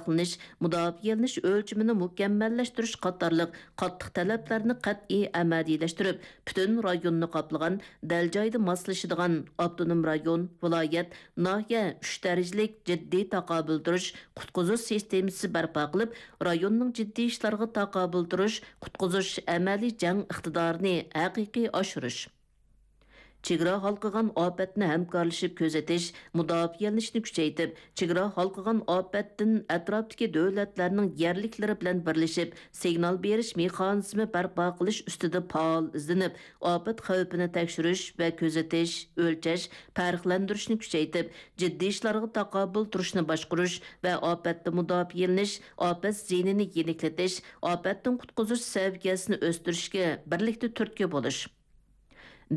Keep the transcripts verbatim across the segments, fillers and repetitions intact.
ساقلىنىش، مۇداپىئەلىنىش ئۆلچىمىنى مۇكەممەللەشتۈرۈش قاتارلىق قاتتىق تەلەپلەرنى قەتئىي ئەمەلىيلەشتۈرۈپ، پۈتۈن رايوننى قاپلىغان، دەل جايىدا ماسلىشىدىغان، ئاپتونوم رايون، ۋىلايەت، ناھىيە ئۈچ دەرىجىلىك جىددىي تاقابىل تۇرۇش، قۇتقۇزۇش سىستېمىسى بەرپا قىلىپ، رايوننىڭ جىددىي ئىشلارغا تاقابىل تۇرۇش، قۇتقۇزۇش ئەمەلىي جەڭ ئىقتىدارىنى ھەقىقىي ئاشۇرۇش. چېگرا ھالقىغان ئاپەتنى ھەمكارلىشىپ كۆزىتىش، مۇداپىئەلىنىشنى كۈچەيتىپ، چېگرا ھالقىغان ئاپەتتىن ئەتراپتىكى دۆلەتلەرنىڭ يەرلىكلىرى بىلەن بىرلىشىپ، سىگنال بېرىش مېخانىزمى بەرپا قىلىش ئۈستىدە پائال ئىزدىنىپ، ئاپەت خەۋپىنى تەكشۈرۈش ۋە كۆزىتىش، ئۆلچەش، پەرقلەندۈرۈشنى كۈچەيتىپ، جىددىي ئىشلارغا تاقابىل تۇرۇشنى باشقۇرۇش ۋە ئاپەتتىن مۇداپىئەلىنىش، ئاپەت زىيىنىنى يېنىكلىتىش، ئاپەتتىن قۇتقۇزۇش سەۋىيەسىنى ئۆستۈرۈشكە بىرلىكتە تۈرتكە بولۇش.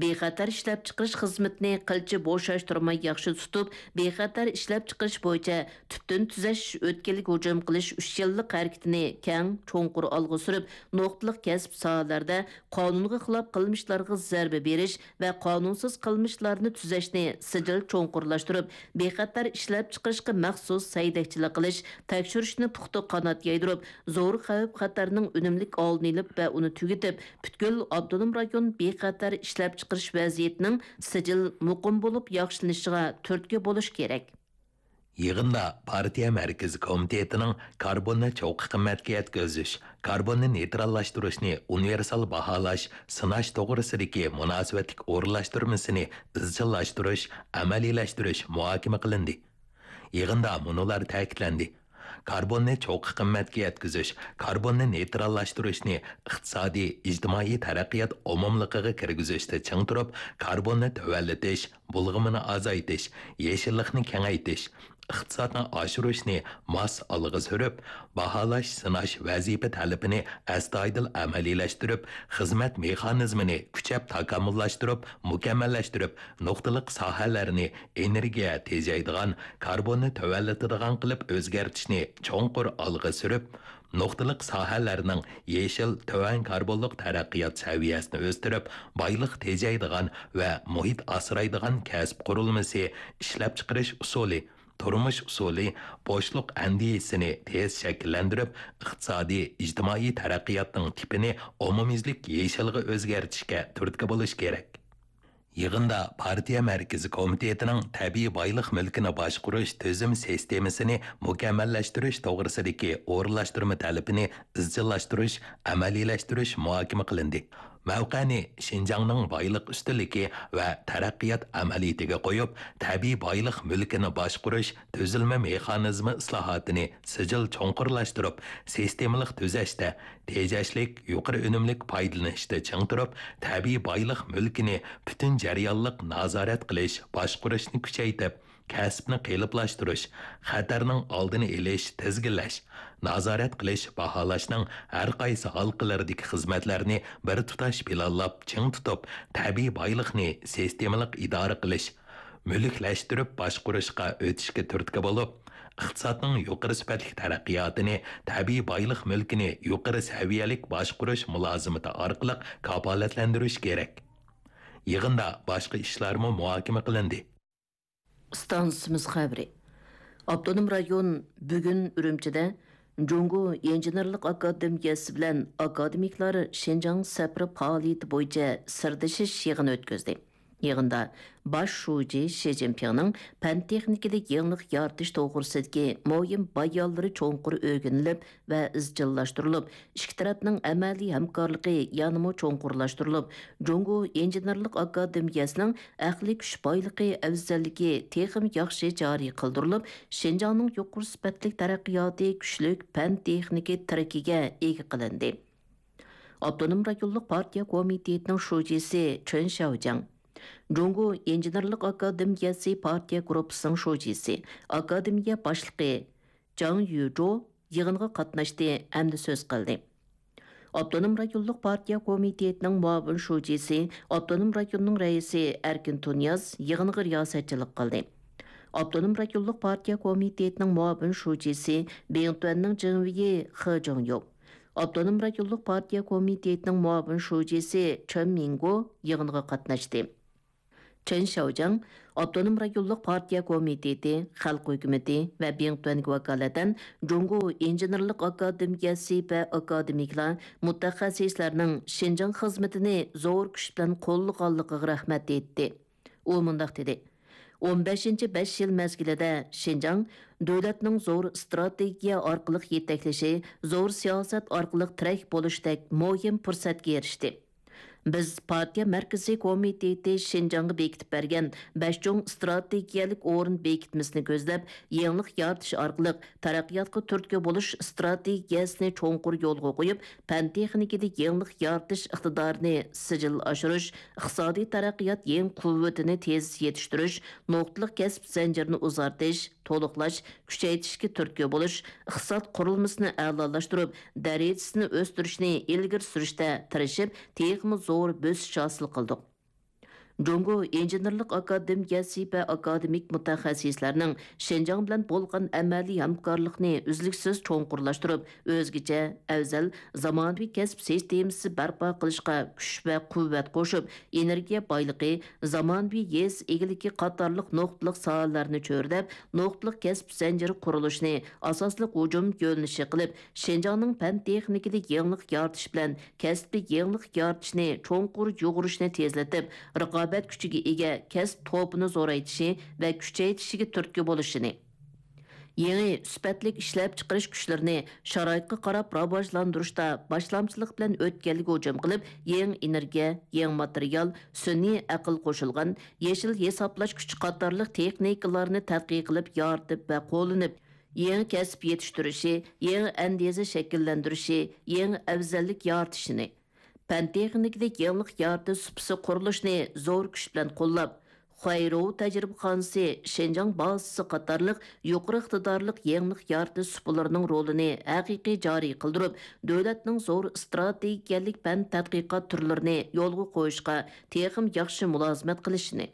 بىخەتەر ئىشلەپچىقىرىش خىزمىتىنى قىلچە بوشاشتۇرماي ياخشى تۇتۇپ، بىخەتەر ئىشلەپچىقىرىش بويىچە تۈپتىن تۈزەش ئۆتكىلىگە ھۇجۇم قىلىش ئۈچ يىللىق ھەرىكىتىنى كەڭ، چوڭقۇر ئالغا سۈرۈپ، نۇقتىلىق كەسىپ ساھەلەردە قانۇنغا خىلاپ قىلمىشلارغا زەربە بېرىش ۋە قانۇنسىز قىلمىشلارنى تۈزەشنى سىجىل چوڭقۇرلاشتۇرۇپ، بىخەتەر ئىشلەپچىقىرىشقا مەخسۇس سەيدەكچىلىك قىلىش، تەكشۈرۈشنى پۇختا قانات يايدۇرۇپ، زور خەۋپ-خەتەرنىڭ ئۈنۈملۈك ئالدىنى ئېلىپ ۋە ئۇنى تۈگىتىپ، پۈتكۈل ئاپتونوم رايون بىخەتەر ئىشلەپچىقىرىش ۋەزىيىتىنىڭ سىجىل، مۇقىم بولۇپ ياخشىلىنىشىغا تۈرتكە بولۇش كېرەك. يىغىندا پارتىيە مەركىزىي كومىتېتىنىڭ كاربوننى چوققا قىممەتكە يەتكۈزۈش، كاربوننى نېيتراللاشتۇرۇشنى ئۇنىۋېرسال باھالاش، سىناش توغرىسىدىكى مۇناسىۋەتلىك ئورۇنلاشتۇرمىسىنى ئىزچىللاشتۇرۇش، ئەمەلىيلەشتۈرۈش مۇھاكىمە قىلىندى. يىغىندا مۇنۇلار تەكىتلەندى: كاربوننى چوققا قىممەتكە يەتكۈزۈش، كاربوننى نېيتراللاشتۇرۇشنى ئىقتىسادىي، ئىجتىمائىي تەرەققىيات ئومۇملۇقىغا كىرگۈزۈشتە چىڭ تۇرۇپ، كاربوننى تۆۋەنلىتىش، بۇلغىمىنى ئازايتىش، يېشىللىقنى كېڭەيتىش، ئىقتىسادنى ئاشۇرۇشنى ماس ئالغا سۈرۈپ، باھالاش، سىناش ۋەزىپە تەلىپىنى ئەستايىدىل ئەمەلىيلەشتۈرۈپ، خىزمەت مېخانىزمىنى كۈچەپ تاكامۇللاشتۇرۇپ، مۇكەممەللەشتۈرۈپ، نۇقتىلىق ساھەلەرنى ئېنېرگىيە تېجەيدىغان، كاربوننى تۆۋەنلىتىدىغان قىلىپ ئۆزگەرتىشنى چوڭقۇر ئالغا سۈرۈپ، نۇقتىلىق ساھەلەرنىڭ يېشىل، تۆۋەن كاربونلۇق تەرەققىيات سەۋىيەسىنى ئۆستۈرۈپ، بايلىق تېجەيدىغان ۋە مۇھىت ئاسرايدىغان كەسىپ قۇرۇلمىسى، ئىشلەپچىقىرىش ئۇسۇلى، تۇرمۇش ئۇسۇلى، بوشلۇق ئەندىزىسىنى تېز شەكىللەندۈرۈپ، ئىقتىسادىي، ئىجتىمائىي تەرەققىياتنىڭ تىپىنى ئومۇميۈزلۈك يېشىلغا ئۆزگەرتىشكە تۈرتكە بولۇش كېرەك. يىغىندا پارتىيە مەركىزىي كومىتېتىنىڭ تەبىئىي بايلىق مۈلكىنى باشقۇرۇش تۈزۈم سىستېمىسىنى مۇكەممەللەشتۈرۈش توغرىسىدىكى ئورۇنلاشتۇرما تەلىپىنى ئىزچىللاشتۇرۇش، ئەمەلىيلەشتۈرۈش مۇھاكىمە قىلىندى. مەۋقەنى شىنجاڭنىڭ بايلىق ئۈستۈنلۈكى ۋە تەرەققىيات ئەمەلىيىتىگە قويۇپ، تەبىئىي بايلىق مۈلكىنى باشقۇرۇش تۈزۈلمە مېخانىزمى ئىسلاھاتىنى سىجىل چوڭقۇرلاشتۇرۇپ، سىستېمىلىق تۈزەشتە، تېجەشلىك، يۇقىرى ئۈنۈملۈك پايدىلىنىشتا چىڭ تۇرۇپ، تەبىئىي بايلىق مۈلكىنى پۈتۈن جەريانلىق نازارەت قىلىش، باشقۇرۇشنى كۈچەيتىپ، كەسىپنى قېلىپلاشتۇرۇش، خەتەرنىڭ ئالدىنى ئېلىش، تىزگىنلەش، نازارەت قىلىش، باھالاشنىڭ ھەر قايسى ھالقىلىرىدىكى خىزمەتلەرنى بىر تۇتاش پىلانلاپ چىڭ تۇتۇپ، تەبىئىي بايلىقنى سىستېمىلىق ئىدارە قىلىش، مۈلۈكلەشتۈرۈپ باشقۇرۇشقا ئۆتۈشكە تۈرتكە بولۇپ، ئىقتىسادنىڭ يۇقىرى سۈپەتلىك تەرەققىياتىنى تەبىئىي بايلىق مۈلكىنى يۇقىرى سەۋىيەلىك باشقۇرۇش مۇلازىمىتى ئارقىلىق كاپالەتلەندۈرۈش كېرەك. يىغىندا باشقا ئىشلارمۇ مۇھاكىمە قىلىندى. ئىستانسىمىز خەۋىرى. ئاپتونوم رايون بۈگۈن ئۈرۈمچىدە جۇڭگو ئىنژېنېرلىق ئاكادېمىيەسى بىلەن ئاكادېمىكلار شىنجاڭ سەپىرى پائالىيىتى بويىچە سىردىشىش يىغىنى ئۆتكۈزدى. يىغىندا باش شۇجى شى جىنپىڭنىڭ پەن-تېخنىكىدا يېڭىلىق يارىتىش توغرىسىدىكى مۇھىم بايانلىرى چوڭقۇر ئۆگىنىلىپ ۋە ئىزچىللاشتۇرۇلۇپ، ئىككى تەرەپنىڭ ئەمەلىي ھەمكارلىقى يەنىمۇ چوڭقۇرلاشتۇرۇلۇپ، جۇڭگو ئىنژېنېرلىق ئاكادېمىيەسىنىڭ ئەقلىي كۈچ بايلىقى ئەۋزەللىكى تېخىمۇ ياخشى جارى قىلدۇرۇلۇپ، شىنجاڭنىڭ يۇقىرى سۈپەتلىك تەرەققىياتى كۈچلۈك پەن-تېخنىكا تىرىكىگە ئىگە قىلىندى. ئاپتونوم رايونلۇق پارتىيە كومىتېتىنىڭ شۇجىسى چېن شياۋجياڭ، جۇڭگو ئىنژېنېرلىق ئاكادېمىيەسى پارتىيە گۇرۇپپىسىنىڭ شۇجىسى، ئاكادېمىيە باشلىقى جاڭ يۈجو يىغىنغا قاتناشتى ھەمدە سۆز قىلدى. ئاپتونوم رايونلۇق پارتىيە كومىتېتىنىڭ مۇئاۋىن شۇجىسى، ئاپتونوم رايوننىڭ رەئىسى ئەركىن تۇنىياز يىغىنغا رىياسەتچىلىك قىلدى. ئاپتونوم رايونلۇق پارتىيە كومىتېتىنىڭ مۇئاۋىن شۇجىسى، بىڭتۈەننىڭ جىڭۋېيى خې جۇڭيۇ، ئاپتونوم رايونلۇق پارتىيە كومىتېتىنىڭ مۇئاۋىن شۇجىسى چېن مىڭگو يىغىنغا قاتناشتى. چېن شياۋجياڭ ئاپتونوم رايونلۇق پارتىيە كومىتېتى، خەلق ھۆكۈمىتى ۋە بىڭتۈەنگە ۋاكالىتەن جۇڭگو ئىنژېنېرلىق ئاكادېمىيەسى ۋە ئاكادېمىكلار، مۇتەخەسسىسلەرنىڭ شىنجاڭ خىزمىتىنى زور كۈچ بىلەن قوللىغانلىقىغا رەھمەت ئېيتتى. ئۇ مۇنداق دېدى: «ئون بەشىنچى بەش يىل مەزگىلىدە شىنجاڭ دۆلەتنىڭ زور ئىستراتېگىيە ئارقىلىق يېتەكلىشى، زور سىياسەت ئارقىلىق تىرەك بولۇشتەك مۇھىم پۇرسەتكە ئېرىشتى. بىز پارتىيە مەركىزىي كومىتېتى شىنجاڭغا بېكىتىپ بەرگەن بەش چوڭ ئىستراتېگىيەلىك ئورۇن بېكىتمىسىنى كۆزلەپ، يېڭىلىق يارىتىش ئارقىلىق تەرەققىياتقا تۈرتكە بولۇش ئىستراتېگىيەسىنى چوڭقۇر يولغا قويۇپ، پەن تېخنىكىدا يېڭىلىق يارىتىش ئىقتىدارىنى سىجىل ئاشۇرۇش، ئىقتىسادىي تەرەققىيات يېڭى قۇۋۋىتىنى تېز يېتىشتۈرۈش، نۇقتىلىق كەسىپ زەنجىرىنى ئۇزارتىش، تولۇقلاش، كۈچەيتىشكە تۈرتكە بولۇش، ئىقتىساد قۇرۇلمىسىنى ئەلالاشتۇرۇپ، دەرىجىسىنى ئۆستۈرۈشنى ئىلگىرى سۈرۈشتە تىرىشىپ، تېخىمۇ زور بۆسۈش ھاسىل قىلدۇق. جۇڭگو ئىنژېنېرلىق ئاكادېمىيەسى ۋە ئاكادېمىك مۇتەخەسسىسلەرنىڭ شىنجاڭ بىلەن بولغان ئەمەلىي ھەمكارلىقنى ئۈزلۈكسىز چوڭقۇرلاشتۇرۇپ، ئۆزگىچە، ئەۋزەل، زامانىۋى كەسىپ سىستېمىسى بەرپا قىلىشقا كۈچ ۋە قۇۋۋەت قوشۇپ، ئېنېرگىيە بايلىقى، زامانىۋى يېزا ئىگىلىكى قاتارلىق نۇقتىلىق ساھەلەرنى چۆرىدەپ، نۇقتىلىق كەسىپ زەنجىرى قۇرۇلۇشىنى ئاساسلىق ھۇجۇم يۆنىلىشى قىلىپ، شىنجاڭنىڭ پەن تېخنىكىدا يېڭىلىق يارىتىش بىلەن كەسپىي يېڭىلىق يارىتىشنى چوڭقۇر يۇغۇرۇشنى تېزلىتىپ، رىقابەت كۈچىگە ئىگە كەسىپ توپىنى زورايتىشى ۋە كۈچەيتىشىگە تۈرتكە بولۇشىنى، يېڭى سۈپەتلىك ئىشلەپچىقىرىش كۈچلىرىنى شارائىتقا قاراپ راۋاجلاندۇرۇشتا باشلامچىلىق بىلەن ئۆتكەلگە ھۇجۇم قىلىپ، يېڭى ئېنېرگىيە، يېڭى ماتېرىيال، سۈنئىي ئەقىل قوشۇلغان، يېشىل ھېسابلاش كۈچى قاتارلىق تېخنىكىلارنى تەتقىق قىلىپ يارىتىپ ۋە قوللىنىپ، يېڭى كەسىپ يېتىشتۈرۈشى، يېڭى ئەندىزە شەكىللەندۈرۈشى، يېڭى ئەۋزەللىك يارىتىشىنى، پەن تېخنىكىدا يېڭىلىق يارىتىش سۇپىسى قۇرۇلۇشىنى زور كۈچ بىلەن قوللاپ، خۇەيرۇ تەجرىبىخانىسى، شىنجاڭ بازىسى قاتارلىق يۇقىرى ئىقتىدارلىق يېڭىلىق يارىتىش سۇپىلىرىنىڭ رولىنى ھەقىقىي جارى قىلدۇرۇپ، دۆلەتنىڭ زور ئىستراتېگىيەلىك پەن تەتقىقات تۈرلىرىنى يولغا قويۇشقا تېخىمۇ ياخشى مۇلازىمەت قىلىشىنى،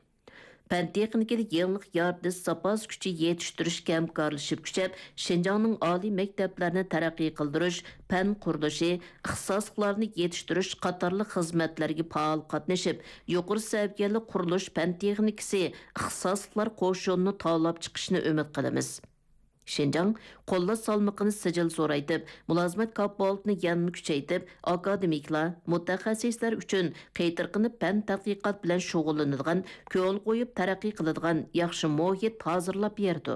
پەن تېخنىكىدا يېڭىلىق يارىتىش زاپاس كۈچى يېتىشتۈرۈشكە ھەمكارلىشىپ كۈچەپ، شىنجاڭنىڭ ئالىي مەكتەپلەرنى تەرەققىي قىلدۇرۇش، پەن قۇرۇلۇشى، ئىختىساسلىقلارنى يېتىشتۈرۈش قاتارلىق خىزمەتلەرگە پائال قاتنىشىپ، يۇقىرى سەۋىيەلىك قۇرۇلۇش پەن تېخنىكىسى ئىختىساسلىقلار قوشۇنىنى تاۋلاپ چىقىشىنى ئۈمىد قىلىمىز. شىنجاڭ قوللاش سالمىقىنى سىجىل زورايتىپ، مۇلازىمەت كاپالىتىنى يەنىمۇ كۈچەيتىپ، ئاكادېمىكلار، مۇتەخەسسىسلەر ئۈچۈن قېتىرقىنىپ پەن تەتقىقات بىلەن شۇغۇللىنىدىغان، كۆڭۈل قويۇپ تەرەققىي قىلىدىغان ياخشى مۇھىت ھازىرلاپ بېرىدۇ.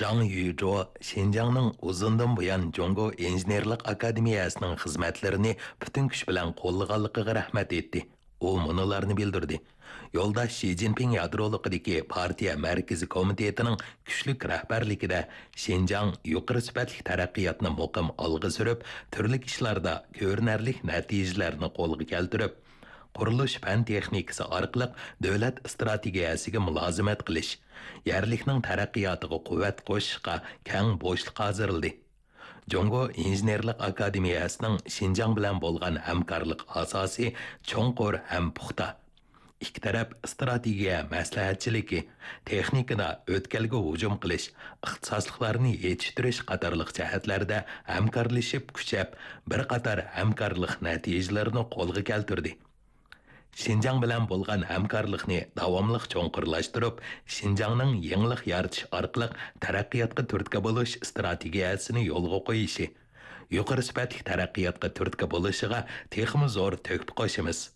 جاڭ يۈجۇ شىنجاڭنىڭ ئۇزۇندىن بۇيان جۇڭگو ئىنژېنېرلىق ئاكادېمىيەسىنىڭ خىزمەتلىرىنى پۈتۈن كۈچ بىلەن قوللىغانلىقىغا رەھمەت ئېيتتى. ئۇ مۇنۇلارنى بىلدۈردى: يولداش شى جىنپىڭ يادرولۇقىدىكى پارتىيە مەركىزىي كومىتېتىنىڭ كۈچلۈك رەھبەرلىكىدە شىنجاڭ يۇقىرى سۈپەتلىك تەرەققىياتنى مۇقىم ئالغا سۈرۈپ، تۈرلۈك ئىشلاردا كۆرۈنەرلىك نەتىجىلەرنى قولغا كەلتۈرۈپ، قۇرۇلۇش پەن تېخنىكىسى ئارقىلىق دۆلەت ئىستراتېگىيەسىگە مۇلازىمەت قىلىش، يەرلىكنىڭ تەرەققىياتىغا قۇۋۋەت قوشۇشقا كەڭ بوشلۇق ھازىرلىدى. جۇڭگو ئىنژېنېرلىق ئاكادېمىيەسىنىڭ شىنجاڭ بىلەن بولغان ھەمكارلىق ئاساسى چوڭقۇر ھەم پۇختا. ئىككى تەرەپ ئىستراتېگىيە مەسلىھەتچىلىكى، تېخنىكىدا ئۆتكەلگە ھۇجۇم قىلىش، ئىختىساسلىقلارنى يېتىشتۈرۈش قاتارلىق جەھەتلەردە ھەمكارلىشىپ كۈچەپ، بىر قاتار ھەمكارلىق نەتىجىلىرىنى قولغا كەلتۈردى. شىنجاڭ بىلەن بولغان ھەمكارلىقنى داۋاملىق چوڭقۇرلاشتۇرۇپ، شىنجاڭنىڭ يېڭىلىق يارىتىش ئارقىلىق تەرەققىياتقا تۈرتكە بولۇش ئىستراتېگىيەسىنى يولغا قويۇشى، يۇقىرى سۈپەتلىك تەرەققىياتقا تۈرتكە بولۇشىغا تېخىمۇ زور تۆھپە قوشىمىز.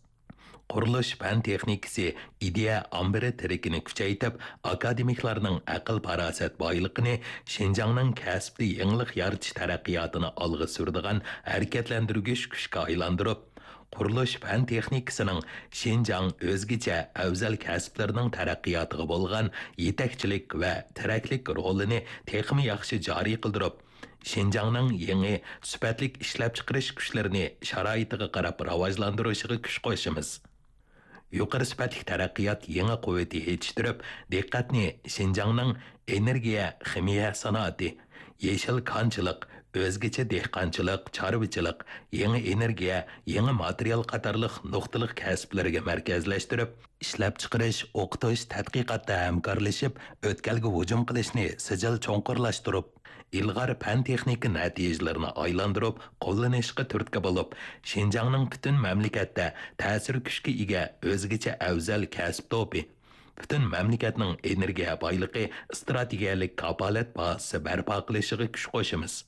قۇرۇلۇش پەن تېخنىكىسى ئىدىيە ئامبىرى تىرىكىنى كۈچەيتىپ، ئاكادېمىكلارنىڭ ئەقىل-پاراسەت بايلىقىنى شىنجاڭنىڭ كەسىپتە يېڭىلىق يارىتىش تەرەققىياتىنى ئالغا سۈرىدىغان ھەرىكەتلەندۈرگۈچ كۈچكە ئايلاندۇرۇپ، قۇرۇلۇش پەن تېخنىكىسىنىڭ شىنجاڭ ئۆزگىچە ئەۋزەل كەسىپلىرىنىڭ تەرەققىياتىغا بولغان يېتەكچىلىك ۋە تىرەكلىك رولىنى تېخىمۇ ياخشى جارى قىلدۇرۇپ، شىنجاڭنىڭ يېڭى سۈپەتلىك ئىشلەپچىقىرىش كۈچلىرىنى شارائىتىغا قاراپ راۋاجلاندۇرۇشىغا كۈچ قوشىمىز. يۇقىرى سۈپەتلىك تەرەققىيات يېڭى قۇۋۋىتى يېتىشتۈرۈپ، دىققەتنى شىنجاڭنىڭ ئېنېرگىيە خىمىيە سانائىتى، يېشىل كانچىلىق، ئۆزگىچە دېھقانچىلىق، چارۋىچىلىق، يېڭى ئېنېرگىيە، يېڭى ماتېرىيال قاتارلىق نۇقتىلىق كەسىپلىرىگە مەركەزلەشتۈرۈپ، ئىشلەپچىقىرىش، ئوقۇتۇش، تەتقىقاتتا ھەمكارلىشىپ، ئۆتكەلگە ھۇجۇم قىلىشنى سىجىل چوڭقۇرلاشتۇرۇپ، ئىلغار پەن-تېخنىكا نەتىجىلىرىنى ئايلاندۇرۇپ قوللىنىشقا تۈرتكە بولۇپ، شىنجاڭنىڭ پۈتۈن مەملىكەتتە تەسىر كۈچكە ئىگە ئۆزگىچە ئەۋزەل كەسىپ توپى، پۈتۈن مەملىكەتنىڭ ئېنېرگىيە بايلىقى ئىستراتېگىيەلىك كاپالەت بازىسى بەرپا قىلىشىغا كۈچ قوشىمىز.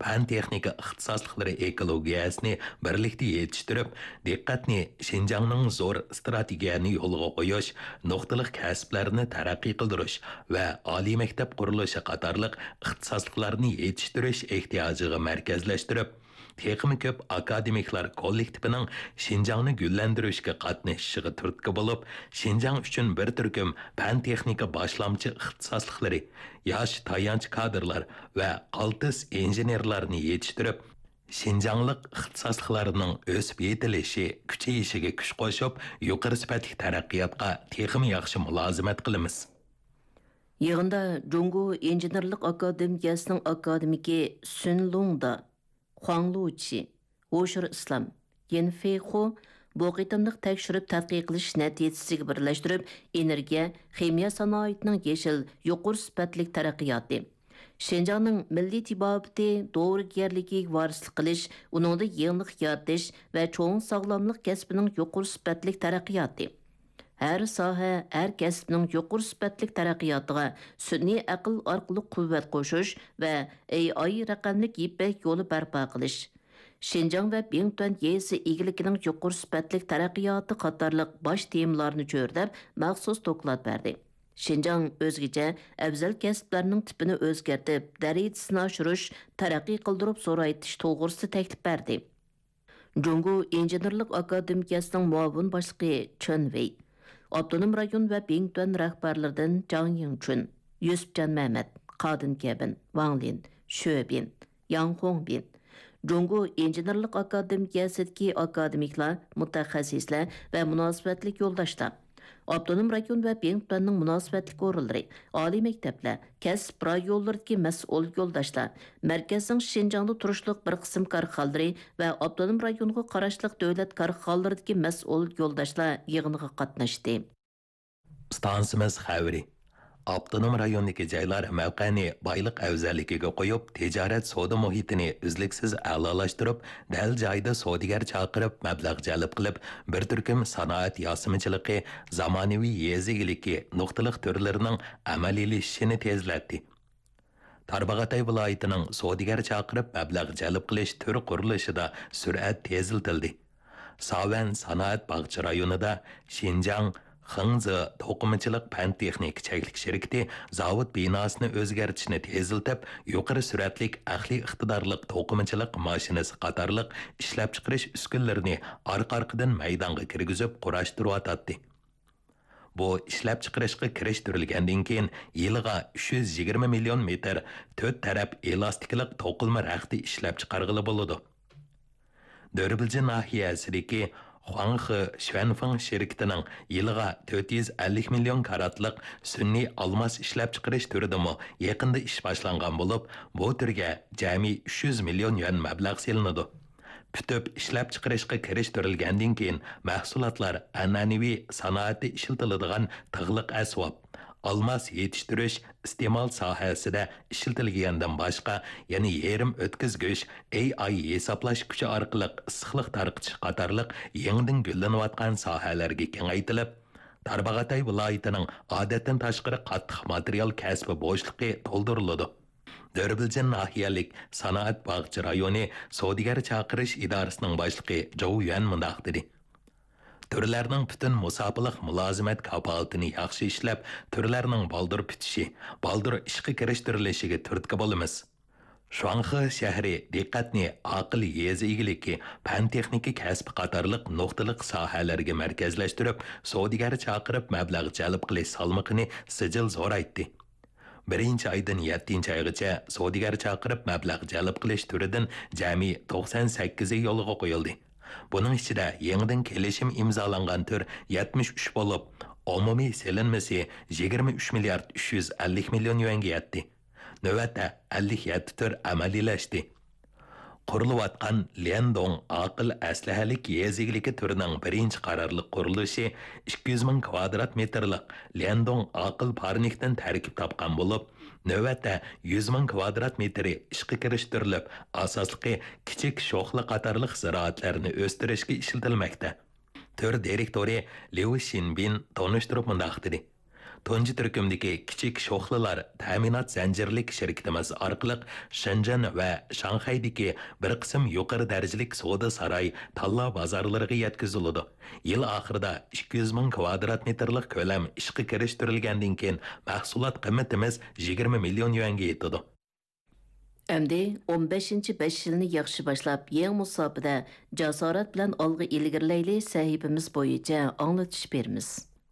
پەن-تېخنىكا ئىختىساسلىقلىرى ئېكولوگىيەسىنى بىرلىكتە يېتىشتۈرۈپ، دىققەتنى شىنجاڭنىڭ زور ئىستراتېگىيەنى يولغا قويۇش، نۇقتىلىق كەسىپلەرنى تەرەققىي قىلدۇرۇش ۋە ئالىي مەكتەپ قۇرۇلۇشى قاتارلىق ئىختىساسلىقلارنى يېتىشتۈرۈش ئېھتىياجىغا مەركەزلەشتۈرۈپ، تېخىمۇ كۆپ ئاكادېمىكلار كوللېكتىپىنىڭ شىنجاڭنى گۈللەندۈرۈشكە قاتنىشىشىغا تۈرتكە بولۇپ، شىنجاڭ ئۈچۈن بىر تۈركۈم پەن-تېخنىكا باشلامچى ئىختىساسلىقلىرى، ياش تايانچ كادىرلار ۋە قالتىس ئىنژېنېرلارنى يېتىشتۈرۈپ، شىنجاڭلىق ئىختىساسلىقلارنىڭ ئۆسۈپ يېتىلىشى، كۈچىيىشىگە كۈچ قوشۇپ، يۇقىرى سۈپەتلىك تەرەققىياتقا تېخىمۇ ياخشى مۇلازىمەت قىلىمىز. يىغىندا جۇڭگو ئىنژېنېرلىق ئاكادېمىيەسىنىڭ ئاكادېمىكى سۈن لۇڭدا، خۇاڭ لۇچى، ھوشۇر ئىسلام، يېن فېيخۇ بۇ قېتىملىق تەكشۈرۈپ تەتقىق قىلىش نەتىجىسىگە بىرلەشتۈرۈپ، ئېنېرگىيە، خىمىيە سانائىتىنىڭ يېشىل، يۇقىرى سۈپەتلىك تەرەققىياتى، شىنجاڭنىڭ مىللىي تېبابىتى، دورىگەرلىكىگە ۋارىسلىق قىلىش، ئۇنىڭدا يېڭىلىق يارىتىش ۋە چوڭ ساغلاملىق كەسپىنىڭ يۇقىرى سۈپەتلىك تەرەققىياتى، ھەر ساھە، ھەر كەسىپنىڭ يۇقىرى سۈپەتلىك تەرەققىياتىغا سۈنئىي ئەقىل ئارقىلىق قۇۋۋەت قوشۇش ۋە ئېي ئاي رەقەملىك يىپەك يولى بەرپا قىلىش، شىنجاڭ ۋە بىڭتۈەن يېزا ئىگىلىكىنىڭ يۇقىرى سۈپەتلىك تەرەققىياتى قاتارلىق باش تېمىلارنى چۆرىدەپ مەخسۇس دوكلات بەردى. شىنجاڭ ئۆزگىچە ئەۋزەل كەسىپلەرنىڭ تىپىنى ئۆزگەرتىپ، دەرىجىسىنى ئاشۇرۇش، تەرەققىي قىلدۇرۇپ زورايتىش توغرىسىدا تەكلىپ بەردى. جۇڭگو ئىنژېنېرلىق ئاكادېمىيەسىنىڭ مۇئاۋىن باشلىقى چېن ۋېي، ئاپتونوم رايون ۋە بىڭتۈەن رەھبەرلىرىدىن جاڭ يىڭچۈن، يۈسۈپجان مەمەت، قادىن كەبىن، ۋاڭ لىن، شۆ بىن، ياڭ خۇڭبىن، جۇڭگو ئىنژېنېرلىق ئاكادېمىيەسىدىكى ئاكادېمىكلار، مۇتەخەسسىسلەر ۋە مۇناسىۋەتلىك يولداشلار، ئاپتونوم رايون ۋە بىڭتۈەننىڭ مۇناسىۋەتلىك ئورۇنلىرى، ئالىي مەكتەپلەر، كەسىپ رايونلىرىدىكى مەسئۇل يولداشلار، مەركەزنىڭ شىنجاڭدا تۇرۇشلۇق بىر قىسىم كارخانىلىرى ۋە ئاپتونوم رايونغا قاراشلىق دۆلەت كارخانىلىرىدىكى مەسئۇل يولداشلار يىغىنغا قاتناشتى. ئىستانسىمىز خەۋىرى. ئاپتونوم رايوندىكى جايلار مەۋقەنى بايلىق ئەۋزەللىكىگە قويۇپ، تىجارەت سودا مۇھىتىنى ئۈزلۈكسىز ئەلالاشتۇرۇپ، دەل جايىدا سودىگەر چاقىرىپ، مەبلەغ جەلپ قىلىپ، بىر تۈركۈم سانائەت ياسىمىچىلىقى، زامانىۋى يېزا ئىگىلىكى نۇقتىلىق تۈرلىرىنىڭ ئەمەلىيلىشىشىنى تېزلەتتى. تارباغاتاي ۋىلايىتىنىڭ سودىگەر چاقىرىپ مەبلەغ جەلپ قىلىش تۈر قۇرۇلۇشىدا سۈرئەت تېزلىتىلدى. ساۋەن سانائەت باغچە رايونىدا شىنجاڭ خېڭزې توقۇمىچىلىق پەن-تېخنىكا چەكلىك شىركىتى زاۋۇت بىناسىنى ئۆزگەرتىشنى تېزلىتىپ، يۇقىرى سۈرئەتلىك ئەقلىي ئىقتىدارلىق توقۇمىچىلىق ماشىنىسى قاتارلىق ئىشلەپچىقىرىش ئۈسكۈنىلىرىنى ئارقا-ئارقىدىن مەيدانغا كىرگۈزۈپ قۇراشتۇرۇۋاتاتتى. بۇ ئىشلەپچىقىرىشقا كىرىشتۈرۈلگەندىن كېيىن، يىلىغا ئۈچ يۈز يىگىرمە مىليون مېتىر تۆت تەرەپ ئېلاستىكىلىق توقۇلما رەختى ئىشلەپچىقارغىلى بولىدۇ. دۆربىلجى ناھىيەسىدىكى خۇاڭخې شۈەنفېڭ شىركىتىنىڭ يىلىغا تۆت يۈز ئەللىك مىليون كاراتلىق سۈنئىي ئالماس ئىشلەپچىقىرىش تۈرىدىمۇ يېقىندا ئىش باشلانغان بولۇپ، بۇ تۈرگە جەمئىي ئۈچ يۈز مىليون يۈەن مەبلەغ سېلىنىدۇ. پۈتۈپ ئىشلەپچىقىرىشقا كىرىشتۈرۈلگەندىن كېيىن، مەھسۇلاتلار ئەنئەنىۋى سانائەتتە ئىشلىتىلىدىغان تىغلىق ئەسۋاب، ئالماس يېتىشتۈرۈش، ئىستېمال ساھەسىدە ئىشلىتىلگەندىن باشقا، يەنە يېرىم ئۆتكۈزگۈچ، ئېي ئاي ھېسابلاش كۈچى ئارقىلىق ئىسسىقلىق تارقىتىش قاتارلىق يېڭىدىن گۈللىنىۋاتقان ساھەلەرگە كېڭەيتىلىپ، تارباغاتاي ۋىلايىتىنىڭ ئادەتتىن تاشقىرى قاتتىق ماتېرىيال كەسپى بوشلۇقى تولدۇرۇلىدۇ. دۆربىلجىن ناھىيەلىك سانائەت باغچە رايونى سودىگەر چاقىرىش ئىدارىسىنىڭ باشلىقى جوۋ يۈەن مۇنداق دېدى: تۈرلەرنىڭ پۈتۈن مۇساپىلىق مۇلازىمەت كاپالىتىنى ياخشى ئىشلەپ، تۈرلەرنىڭ بالدۇر پۈتۈشى، بالدۇر ئىشقا كىرىشتۈرۈلۈشىگە تۈرتكە بولىمىز. شۇاڭخې شەھىرى دىققەتنى ئاقىل يېزا ئىگىلىكى، پەن-تېخنىكا كەسپى قاتارلىق نۇقتىلىق ساھەلەرگە مەركەزلەشتۈرۈپ، سودىگەر چاقىرىپ مەبلەغ جەلپ قىلىش سالمىقىنى سىجىل زورايتتى. بىرىنچى ئايدىن يەتتىنچى ئايغىچە سودىگەر چاقىرىپ مەبلەغ جەلپ قىلىش تۈرىدىن جەمئىي توقسان سەككىزى يولغا قويۇلدى. بۇنىڭ ئىچىدە يېڭىدىن كېلىشىم ئىمزالانغان تۈر يەتمىش ئۈچ بولۇپ، ئومۇمىي سېلىنمىسى يىگىرمە ئۈچ مىليارد ئۈچ يۈز ئەللىك مىليون يۈەنگە يەتتى. نۆۋەتتە ئەللىك يەتتە تۈر ئەمەلىيلەشتى. قۇرۇلۇۋاتقان ليەندوڭ ئاقىل ئەسلىھەلىك يېزا ئىگىلىكى تۈرىنىڭ بىرىنچى قارارلىق قۇرۇلۇشى ئىككى يۈز مىڭ كىۋادرات مېتىرلىق ليەندوڭ ئاقىل پارنىكتىن تەركىب تاپقان بولۇپ، نۆۋەتتە يۈز مىڭ كىۋادرات مېتىرى ئىشقا كىرىشتۈرۈلۈپ، ئاساسلىقى كىچىك شوخلا قاتارلىق زىرائەتلەرنى ئۆستۈرۈشكە ئىشلىتىلمەكتە. تۈر دىرېكتورى ليۇ شىنبىن تونۇشتۇرۇپ مۇنداق دېدى: تۇنجى تۈركۈمدىكى كىچىك شوخلىلار تەمىنات زەنجىرلىك شىركىتىمىز ئارقىلىق شېنجېن ۋە شاڭخەيدىكى بىر قىسىم يۇقىرى دەرىجىلىك سودا ساراي تاللا بازارلىرىغا يەتكۈزۈلىدۇ. يىل ئاخىرىدا ئىككى يۈز مىڭ كۋادرات مېتىرلىق كۆلەم ئىشقا كىرىشتۈرۈلگەندىن كېيىن، مەھسۇلات قىممىتىمىز يىگىرمە مىليون يۈەنگە يېتىدۇ. ئەمدى ئون بەشىنچى بەش يىلنى ياخشى باشلاپ، يېڭى مۇساپىدە جاسارەت بىلەن ئالغا ئىلگىرىلەيلى سەھىپىمىز بويىچە ئاڭلىتىش بېرىمىز.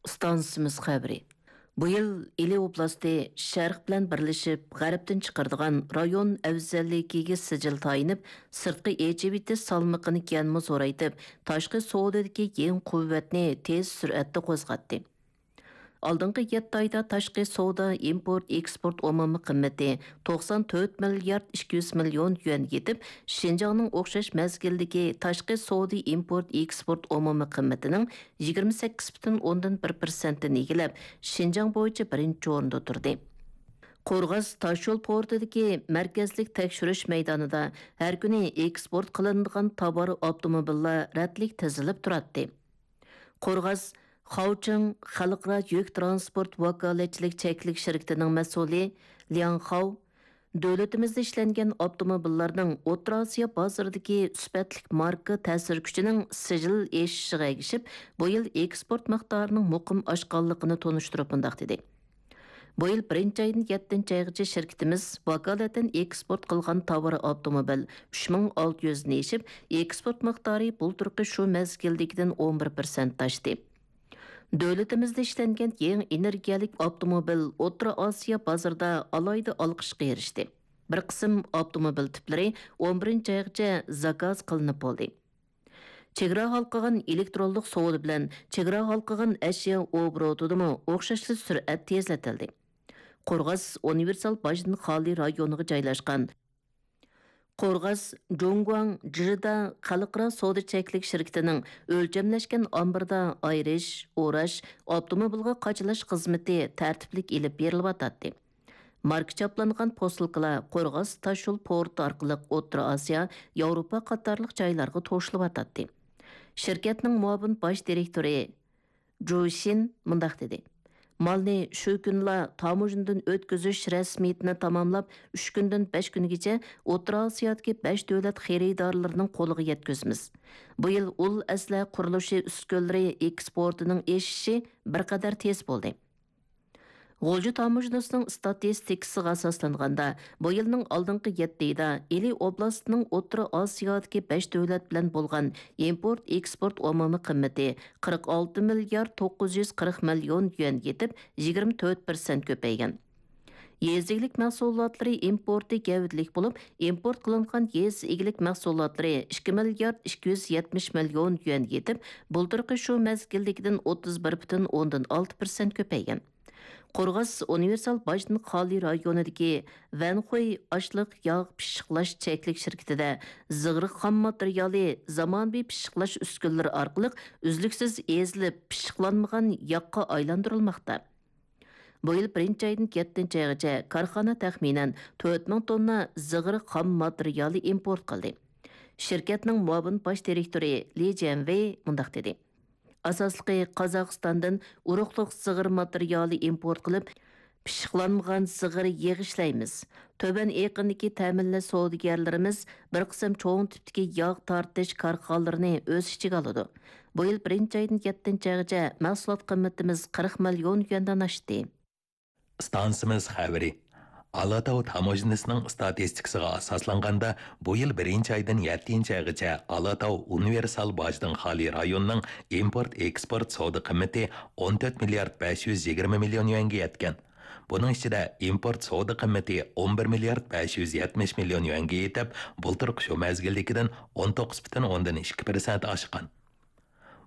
ئىستانسىمىز خەۋىرى. بۇ يىل ئىلى ئوبلاستى شەرق بىلەن بىرلىشىپ، غەربتىن چىقىرىدىغان رايون ئەۋزەللىكىگە سىجىل تايىنىپ، سىرتقا ئېچىۋېتىش سالمىقىنى يەنىمۇ زورايتىپ، تاشقى سودىدىكى يېڭى قۇۋۋەتنى تېز سۈرئەتتە قوزغاتتى. ئالدىنقى يەتتە ئايدا تاشقى سودا ئىمپورت ئېكسپورت ئومۇمىي قىممىتى توقسان تۆت مىليارد ئىككى يۈز مىليون يۈەن يېتىپ، شىنجاڭنىڭ ئوخشاش مەزگىلدىكى تاشقى سودا ئىمپورت ئېكسپورت ئومۇمىي قىممىتىنىڭ يىگىرمە سەككىز پۈتۈن ئوندىن بىر پىرسەنتتىن ئىگىلەپ، شىنجاڭ بويىچە بىرىنچى ئورۇندا تۇردى. قورغاس تاشيول پورتىدىكى مەركەزلىك تەكشۈرۈش مەيدانىدا ھەر كۈنى ئېكسپورت قىلىنىدىغان تاۋار ئاپتوموبىللار رەتلىك تىزىلىپ تۇراتتى. قورغاس خاۋچىڭ خەلقئارا يۈك ترانسپورت ۋاكالەتچىلىك چەكلىك شىركىتىنىڭ مەسئۇلى لياڭ خاۋ دۆلىتىمىزدە ئىشلەنگەن ئاپتوموبىللارنىڭ ئوتتۇرا ئاسىيا بازىرىدىكى سۈپەتلىك ماركا تەسىر كۈچىنىڭ سىجىل ئېشىشىغا ئەگىشىپ، بۇ يىل ئېكسپورت مىقدارىنىڭ مۇقىم ئاشقانلىقىنى تونۇشتۇرۇپ مۇنداق دېدى: بۇ يىل بىرىنچى ئايدىن يەتتىنچى ئايغىچە شىركىتىمىز ۋاكالىتەن ئېكسپورت قىلغان تاۋار ئاپتوموبىل ئۈچ مىڭ ئالتە يۈزدىن ئېشىپ، ئېكسپورت مىقدارى بۇلتۇرقى شۇ مەزگىلدىكىدىن ئون بىر پىرسەنت ئاشتى. دۆلىتىمىزدە ئىشلەنگەن يېڭى ئېنېرگىيەلىك ئاپتوموبىل ئوتتۇرا ئاسىيا بازىرىدا ئالاھىدە ئالقىشقا ئېرىشتى. بىر قىسىم ئاپتوموبىل تىپلىرى ئون بىرىنچى ئايغىچە زاكاز قىلىنىپ بولدى. چېگرا ھالقىغان ئېلېكترونلۇق سودا بىلەن چېگرا ھالقىغان ئەشيا ئوبوروتىدىمۇ ئوخشاشلا سۈرئەت تېزلىتىلدى. قورغاس ئۇنىۋېرسال باجدىن خالىي رايونىغا جايلاشقان قورغاس جۇڭگۇاڭ جىدا خەلقئارا سودا چەكلىك شىركىتىنىڭ ئۆلچەملەشكەن ئامبىرىدا ئايرىش، ئوراش، ئاپتوموبىلغا قاچىلاش خىزمىتى تەرتىپلىك ئېلىپ بېرىلىۋاتاتتى. ماركا چاپلانغان پوسۇلكىلار قورغاس تاشيول پورتى ئارقىلىق ئوتتۇرا ئاسىيا، ياۋروپا قاتارلىق جايلارغا توشۇلۇۋاتاتتى. شىركەتنىڭ مۇئاۋىن باش دىرېكتورى جۇ شىن مۇنداق دېدى: مالنى شۇ كۈنلا تاموژنىدىن ئۆتكۈزۈش رەسمىيىتىنى تاماملاپ، ئۈچ كۈندىن بەش كۈنگىچە ئوتتۇرا ئاسىيادىكى بەش دۆلەت خېرىدارلىرىنىڭ قولىغا يەتكۈزىمىز. بۇ يىل ئۇل ئەسلىھە قۇرۇلۇشى ئۈسكۈنىلىرى ئېكسپورتىنىڭ ئېشىشى بىر قەدەر تېز بولدى. غۇلجا تاموژنىسىنىڭ ئىستاتىستىكىسىغا ئاساسلانغاندا، بۇ يىلنىڭ ئالدىنقى يەتتە ئايىدا ئىلى ئوبلاستىنىڭ ئوتتۇرا ئاسىيادىكى بەش دۆلەت بىلەن بولغان ئىمپورت ئېكسپورت ئومۇمىي قىممىتى قىرىق ئالتە مىليارد توققۇز يۈز قىرىق مىليون يۈەن يېتىپ، يىگىرمە تۆت پىرسەنت كۆپەيگەن. يېزا ئىگىلىك مەھسۇلاتلىرى ئىمپورتى گەۋدىلىك بولۇپ، ئىمپورت قىلىنغان يېزا ئىگىلىك مەھسۇلاتلىرى ئىككى مىليارد ئىككى يۈز يەتمىش مىليون يۈەن يېتىپ، بۇلتۇرقى شۇ مەزگىلدىكىدىن ئوتتۇز بىر پۈتۈن ئوندىن ئالتە پىرسەنت كۆپەيگەن. قورغاس ئۇنىۋېرسال باجدىن خالىي رايونىدىكى ۋەنخۇي ئاشلىق ياغ پىششىقلاش چەكلىك شىركىتىدە زىغىر خام ماتېرىيالى، زامانىۋى پىششىقلاش ئۈسكۈنىلىرى ئارقىلىق ئۈزلۈكسىز ئېزىلىپ، پىششىقلانمىغان ياغقا ئايلاندۇرۇلماقتا. بۇ يىل بىرىنچى ئايدىن يەتتىنچى ئايغىچە كارخانا تەخمىنەن تۆت مىڭ توننا زىغىر خام ماتېرىيالى ئىمپورت قىلدى. شىركەتنىڭ مۇئاۋىن باش دىرېكتورى لى جيەنۋېي مۇنداق دېدى: ئاساسلىقى قازاقىستاندىن ئۇرۇقلۇق زىغىر ماتېرىيالى ئىمپورت قىلىپ، پىششىقلانمىغان زىغىر يېغى ئىشلەيمىز. تۆۋەن ئېقىندىكى تەمىنلەش سودىگەرلىرىمىز بىر قىسىم چوڭ تىپتىكى ياغ تارتىش كارخانىلىرىنى ئۆز ئىچىگە ئالىدۇ. بۇ يىل بىرىنچى ئايدىن يەتتىنچى ئايغىچە مەھسۇلات قىممىتىمىز قىرىق مىليون يۈەندىن ئاشتى. ئىستانسىمىز خەۋىرى. ئالاتاۋ تاموژنىسىنىڭ ئىستاتىستىكىسىغا ئاساسلانغاندا، بۇ يىل بىرىنچى ئايدىن يەتتىنچى ئايغىچە ئالاتاۋ ئۇنىۋېرسال باجدىن خالىي رايوننىڭ ئىمپورت ئېكسپورت سودا قىممىتى ئون تۆت مىليارد بەش يۈز يىگىرمە مىليون يۈەنگە يەتكەن. بۇنىڭ ئىچىدە ئىمپورت سودا قىممىتى ئون بىر مىليارد بەش يۈز يەتمىش مىليون يۈەنگە يېتىپ، بۇلتۇرقى شۇ مەزگىلدىكىدىن ئون توققۇز پۈتۈن ئوندىن ئىككى پىرسەنت ئاشقان.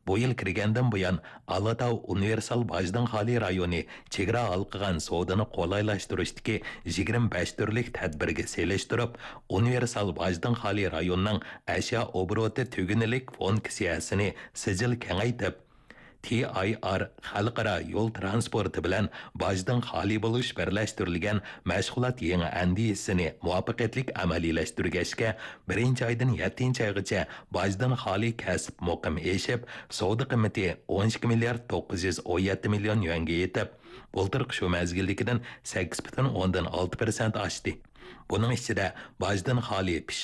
بۇ يىل كىرگەندىن بۇيان، ئالاتاۋ ئۇنىۋېرسال باجدىن خالىي رايونى چېگرا ھالقىغان سودىنى قولايلاشتۇرۇشتىكى يىگىرمە بەش تۈرلۈك تەدبىرگە سېلىشتۇرۇپ، ئۇنىۋېرسال باجدىن خالىي رايوننىڭ ئەشيا ئوبوروتى تۈگۈنلۈك فۇنكسىيەسىنى سىجىل كېڭەيتىپ، تى ئاي ئار خەلقئارا يول تىرانسپورتى بىلەن باجدىن خالىي بولۇش بىرلەشتۈرۈلگەن مەشغۇلات يېڭى ئەندىزىسىنى مۇۋەپپەقىيەتلىك ئەمەلىيلەشتۈرگەچكە، بىرىنچى ئايدىن يەتتىنچى ئايغىچە باجدىن خالىي كەسىپ مۇقىم ئېشىپ، سودا قىممىتى ئون ئىككى مىليارد توققۇز يۈز ئون يەتتە مىليون يۈەنگە يېتىپ، بۇلتۇرقى شۇ مەزگىلدىكىدىن سەككىز پۈتۈن ئوندىن ئالتە پىرسەنت ئاشتى. بۇنىڭ ئىچىدە باجدىن خالىي پىش